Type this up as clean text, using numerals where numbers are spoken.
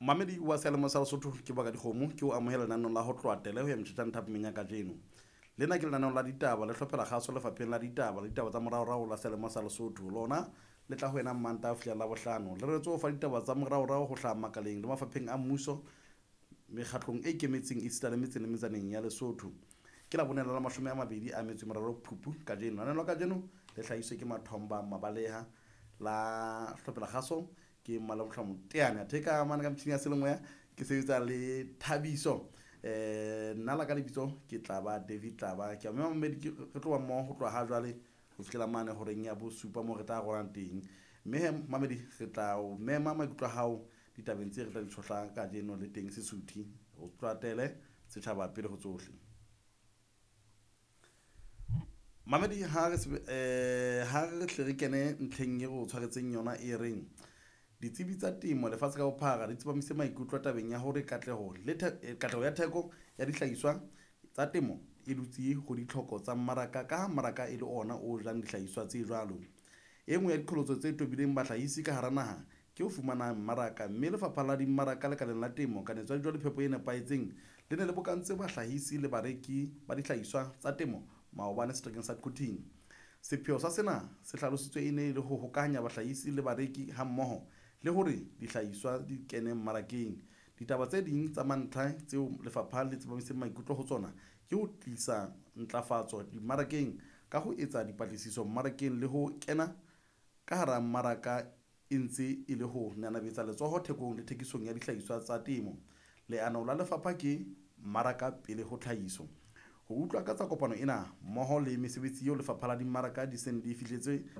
Mamedi wa seyalemoya sa Lesotho ke Baka Dikgomo ke o amohela lenaneng la ho tloha tele ho ya metjhetjane thapameng ya kajeno. Lena ke lenaneo la ditaba le hlophela kgaso lefapheng la ditaba le ditaba tsa moraorao la seyalemoya sa Lesotho. Lona le tla ho wena Mmantaha ho fihlela Labohlano. Le reretswe ho fa ditaba tsa moraorao ho hlaha makaleng le mafapheng a mmuso, mekgatlong e ikemetseng esita le metseng le metsaneng ya Lesotho. Ke Labone la 23 Phupu kajeno. Lenaneo la kajeno le hlahiswe ke Mathomba Mabaleha la hlophela kgaso ke Mmalamohla Moteane. Athe ka mane ka metjhini ya selemoya ke sebetsa le Thabiso. Nna la ka lebitso ke Tlaba David Tlaba. Ke a mema mamedi ke re tloha mmoho ho tloha ha jwale ho fihlela mane horeng ya bosupa moo re tla rolang teng. Mme he mamedi re tla o mema maikutlo a hao ditabeng tse re tla di tshohla kajeno le teng Sesuthi. O tlatele setjhaba pele ho tsohle. Mamedi ha re ha re hle re kene ntlheng e re o tshwaretseng yona e reng ditsebi tsa temo lefatshe ka bophara di tsepamise maikutlo tabeng ya hore katleho le katleho ya theko ya dihlahiswa tsa temo e dutse ho ditlhoko tsa mmaraka ka ha mmaraka e le ona o jang dihlahiswa tse jwalo. E nngwe ya diqholotso tse tobileng bahlahisi ka hara naha ke ho fumana mmaraka, mme lefapha la dimmaraka lekaleng la temo, kanetso ya dijo le phepo e nepahetseng le ne le bokantse bahlahisi le bareki ba dihlahiswa tsa temo maobane seterekeng sa Quthing. Sepheo sa sena se hlalositswe e ne e le ho hokahanya bahlahisi le bareki hammoho le hore dihlahiswa di kene mmarakeng. Ditaba tse ding tsa mantlha tseo lefapha le tsepamiseng maikutlo ho tsona ke ho tlisa ntlafatso dimmarakeng ka ho etsa dipatlisiso mmarakeng le ho kena ka hara mmaraka e ntse e le ho nanabetsa letsoho thekong le thekisong ya dihlahiswa tsa temo. Leano la lefapha ke mmaraka pele ho tlhahiso. Ho utlwa ka tsa kopano ena mmoho le mesebetsi eo lefapha la dimmaraka di seng di fihletse.